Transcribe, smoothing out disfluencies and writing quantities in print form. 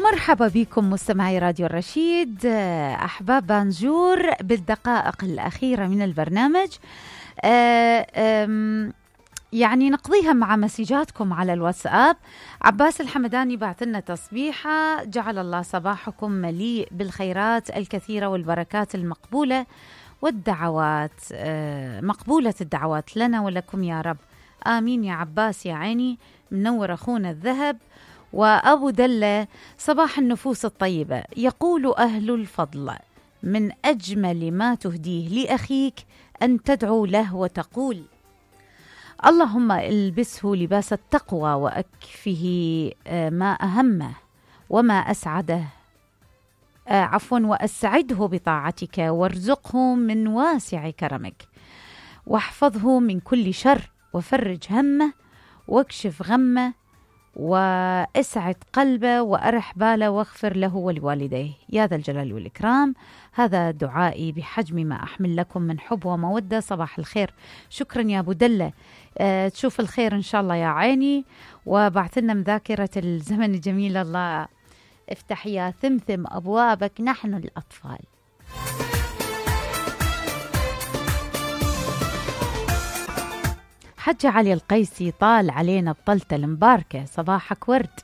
ومرحبا بكم مستمعي راديو الرشيد، أحباب بانجور بالدقائق الأخيرة من البرنامج. يعني نقضيها مع مسجاتكم على الواتساب. عباس الحمداني بعث لنا تصبيحة: جعل الله صباحكم مليء بالخيرات الكثيرة والبركات المقبولة والدعوات، مقبولة الدعوات لنا ولكم يا رب، آمين يا عباس يا عيني. منور أخونا الذهب. وأبو دلة: صباح النفوس الطيبة، يقول أهل الفضل: من أجمل ما تهديه لأخيك أن تدعو له وتقول: اللهم البسه لباس التقوى وأكفه ما أهمه وما أسعده، وأسعده بطاعتك، وارزقه من واسع كرمك، واحفظه من كل شر، وفرج همه، واكشف غمه، واسعد قلبه، وأرح باله، واغفر له ولوالديه يا ذا الجلال والإكرام. هذا دعائي بحجم ما أحمل لكم من حب ومودة. صباح الخير. شكرا يا أبو دلة، تشوف الخير إن شاء الله يا عيني. وبعث لنا مذاكرة الزمن الجميل: الله افتح يا ثمثم أبوابك نحن الأطفال. حج علي القيسي: طال علينا بطلة المباركة، صباحك ورد.